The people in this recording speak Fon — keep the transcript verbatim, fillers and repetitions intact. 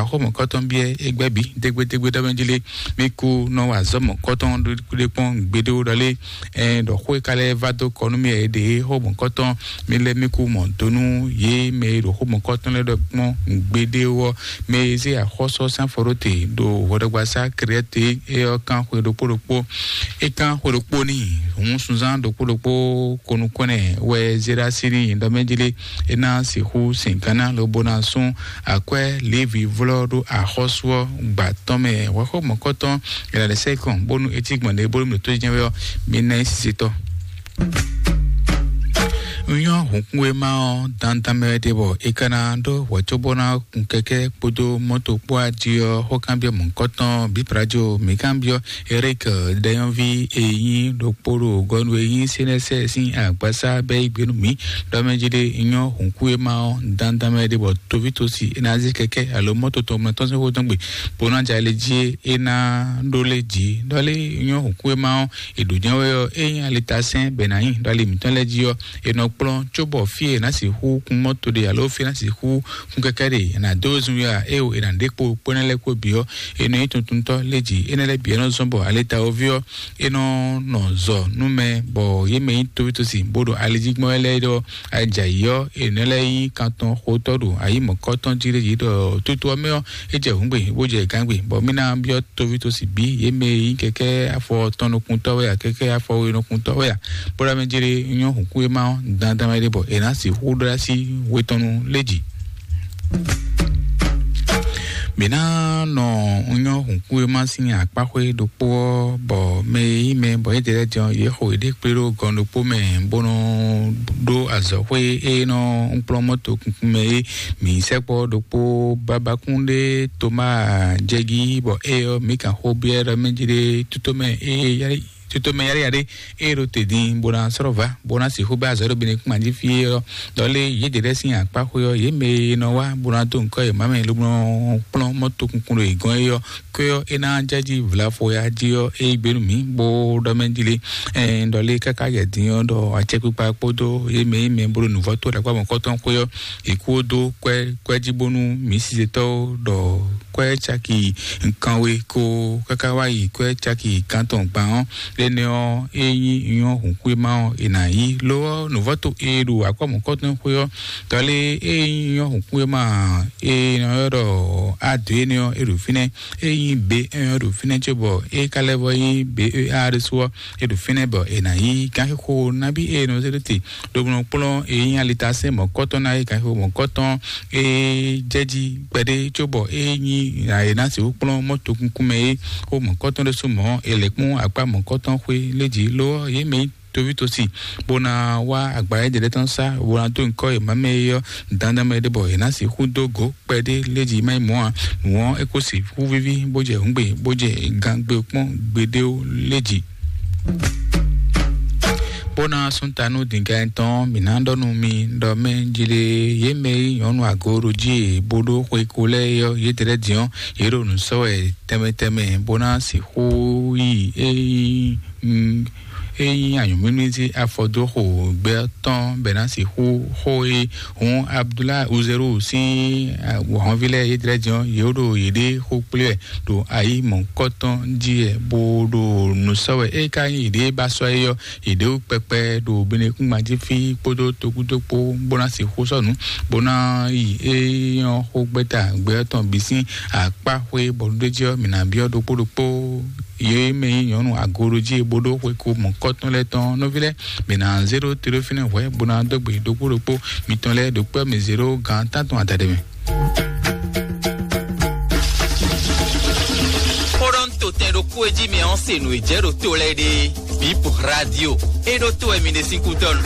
Axɔ́ mɔ̌kɔtɔn biɛ égbɛ́ bǐ dégbédégbé ɖɔ mɛ jí lé. Mi kú nɔ wa azɔ̌ mɔ̌kɔtɔn ɖé kpɔ́n gbeɖé ɖɔ lé. Ɛn ɖɔ xó e ka lɛ́ va dó kɔ nú mì wɛ é ɖe xó mɔ̌kɔtɔn. Mi lɛ́ mi kú mɔ do nú yě mɛ e ɖo xó mɔ̌kɔtɔn lɛ́ɛ ɖɔ kpɔ́n gbeɖé ɔ́. Mɛ e zé axɔ́sɔ sín afɔ ɖó te ɖo hwɛɖɔgbasá Krɛ́te é ɔ́ kán xwe ɖokpó ɖokpó. É kán xwe ɖokpó n'i hǔn sunzán ɖokpó ɖokpó konukɔ́nɛ wɛ zé ɖó así n'i ɖɔ mɛ jí lé. É ná sixú sin gánná lobo ná sún akwɛ́ Levi vlɔ́ ɖó axɔ́sú ɔ́ gba tɔn mɛ. Hwɛxó mɔ̌kɔtɔn è nǎ lɛ́ sɛ́ kɔn bónú é cí gbɔn ɖě bónú mǐ ɖo tó jɛ́n wɛ ɔ́, mi ná nyí sisetɔ́. Un nyɔ́ hǔnkún e má ɔ́ dandan mɛ wɛ ɖe bɔ è ka ná ɖó hwɛ̌ cóbó ná kun kɛkɛ́ kpódó mɔ́to kpó ají ɔ́, xó kanbyɔ́ mɔ̌kɔtɔn bǐ Prajo mǐ kanbyɔ́ Eric ɖɛyɔ́ví e nyí ɖokpó ɖo gɔnu e nyí Senɛsɛ sín agbasá bɛ́ yí gbe nú mǐ ɖɔ mɛ jí ɖé nyɔ́ hǔnkún e má ɔ́ dandan mɛ ɖe bɔ toví tosi é ná zé kɛkɛ́ alo mɔ́to tɔn mɛ tɔn sín xó tɔn gbe bó ná jɛ ali jí é ná ɖó lé jǐ ɖɔ lé nyɔ́ hǔnkún e má ɔ́ è ɖǒ jɛ́n wɛ ɔ́ é nyí alitasɛ́n bɛ ná nyi ɖɔ ali mǐtɔn lɛ́ɛ jí ɔ́ è nɔ kplɔ́n cóbɔ fí e è nǎ sixú kún mɔ́to ɖe alo fí e è nǎ sixú kún kɛkɛ́ ɖe è nǎ dó zun yá é o è nǎ ɖe kpo kpó énɛ́ lɛ́ɛ kpó bǐ ɔ́ è nɔ nyí tuntuntɔ́ lé jǐ énɛ́ lɛ́ɛ bǐ ɔ́ nɔ zɔ́n bɔ alitawoví ɔ́ è nɔ nɔ zɔ nú mɛ bɔ yě mɛ nyí toví tosi bó ɖo ali jí gbɔn wɛ lɛ́ɛ ɖɔ ajǎyí ɔ́ è nɔ lɛ́ nyí kantɔn xotɔ́ ɖo ayǐ mɔ̌kɔ́tɔn jí ɖé yě ɖɔ toto ɔ́ mɛ ɔ́ é jɛ hǔngbe bó jɛ gǎngbe bɔ mí ná byɔ́ toví tosi bǐ yě mɛ e nyí kɛkɛ́ afɔ tɔn nukúntɔ́ wɛ a kɛkɛ́ afɔ we nukúntɔ́ wɛ a bó ɖo amɛ jere nyɔ́ hǔnkún e má ɔ́ dandan wɛ ɖe bɔ è nǎ sixú ɖó así we tɔn nu lé jǐ. Mǐ ná nɔ nyɔ́ hǔnkún e má sín akpáxwé ɖokpó ɔ́ bɔ mɛ e nyí mɛ bɔ yě ɖe lɛ́ɛ din ɔ́ yě xo yěɖée kplé ɖó gɔn ɖokpó mɛ bó nɔ ɖó azɔ̌xwé e nɔ kplɔ́n mɔ́to kunkun mɛ é. Mǐ sɛkpɔ́ ɖokpó babakún ɖé Tomáa jɛgí bɔ é ɔ́ mǐ kan xó byɔ́ ɖɔ mɛ jí ɖé tútó mɛ é yá tutomɛ yáɖéyáɖé e ɖo te din bó ná sɔ́ va bó ná sixú bɛ́ azɔ̌ ɖo Benekúnma jí fí é ɔ́, ɖɔ lé yě ɖě lɛ́ɛ sín akpáxwé ɔ́, yě mɛ e nɔ wá bó ná dó ŋkɔ́ yě má mɛ lobo nɔ kplɔ́n mɔ́ tokunkun ɖo yě gɔ́n é ɔ́, kwɛ́ ɔ́ é ná jɛ jí vlafo ya jí ɔ́ é gbe nú mǐ bó ɖɔ mɛ jí lé. Ɛn ɖɔ lé káká yɛ din ɔ́ ɖɔ acɛkpikpa kpódó yě mɛ yě mɛ bó ɖo nǔvɔ́ tó ɖagbá mɔ̌kɔtɔn xwé ɔ́, è kú dó kwɛ́ kwɛ́ jí bónú mǐ sizetɔ́ ɖɔ kwɛ́ caki kanwe ko káká wá yi kwɛ́ caki gantɔn gban ɔ́, énɛ́ ɔ́ é nyí nyɔ́ hǔnxwéma ɔ́ è nǎ yí. Lo ɔ́, nǔvɔ́to e ɖo akɔ́mɔkɔ́tɔn xwé ɔ́, tɔlé e nyí nyɔ́ hǔnxwéma e nɔ ylɔ́ ɖɔ ado énɛ́ ɔ́, é ɖo fínɛ́, é nyí be é ɔ́ ɖo fínɛ́ cóbɔ é ka lɛ́ vɔ nyí be e a ɖésú ɔ́, é ɖo fínɛ́ bɔ è nǎ yí gánxixo nabí e nɔ zé ɖó te ɖo nɔ kplɔ́n e nyí alitasɛ́n mɔ̌kɔ́tɔn ná é gánxixo mɔ̌kɔ́tɔn e jɛ jí kpɛɖé cóbɔ é nyí e ná sixú kplɔ́n mɔ́ tokunkun mɛ é xó mɔ̌kɔ́tɔn ɖésú mɔ̌ è lɛ̌ kpɔ́n akpá mɔ̌kɔ́tɔn xwé lé jí lo ɔ́, yě mɛ nyí toví tosi bó ná wá agba éɖé lɛ́ɛ tɔn sá bó ná dó ŋkɔ́ è má mɛ é ɔ́ dandan mɛ ɖé bɔ è ná sixú dó gǒ kpɛɖé lé jí má nyí mɔ̌ ǎ. Nǔ ɔ́, é kó sixú víví bó jɛ hǔngbe bó jɛ gangbe kpɔ́n gbeɖéwo lé jí. Bó ná sún ta nú dǐngán tɔn mǐ ná ɖɔ nú mi ɖɔ mɛ jlé yě mɛ e nyɔ̌nu agoɖojí e bó ɖó xwe ko lɛ́ɛ é ɔ́, yě ɖě lɛ́ɛ din ɔ́, yě ɖo nǔ sɔ́ wɛ tɛnmɛ tɛnmɛ bó ná sixú yi é nyí mm, é nyí anyǔmímí sí afɔ dó xo gbɛ tɔn bɛ ná sixú xó e hǔn Abdullah Uzeru sín wɔ̌nví lɛ́ɛ yě ɖě din ɔ́, yě ɖo yěɖée xó kplé wɛ ɖo ayi mɔ̌kɔtɔn jí wɛ bó ɖo nǔ sɔ́ wɛ. É ka nyí yěɖée ba sɔ́ é ɔ́, yěɖée wú kpɛkpɛ ɖo Benekúngban jí fí kpódó tokúdó kpó bó ná sixú sɔ́ nǔ bó ná yi é nyɔ́ xó gbɛ́ta gbɛ tɔn bǐ sín akpá xwé bɔ ɖó jí ɔ́, mǐ ná byɔ́ ɖokpó ɖokpó yě mɛ nyí nyɔ̌nu agoɖojí e bó ɖó xwe ko mɔ̌kɔtɔn lɛ́ɛ tɔn nɔví lɛ́ɛ, mǐ ná zé ɖó te ɖó fínɛ́ hwɛ̌ bó ná dó gbe ɖokpó ɖokpó mitɔn lɛ́ɛ ɖo kpɛ́ mì zé ɖó gan tántɔn adaɖé mɛ. Xóɖɔ́ntotɛn ɖokpó e jí mɛ ɔ́ se nǔ e jɛ ɖo to lɛ́ɛ ɖe. Bip Radio. E ɖo to wɛ mi ɖe sín kúdɔnu.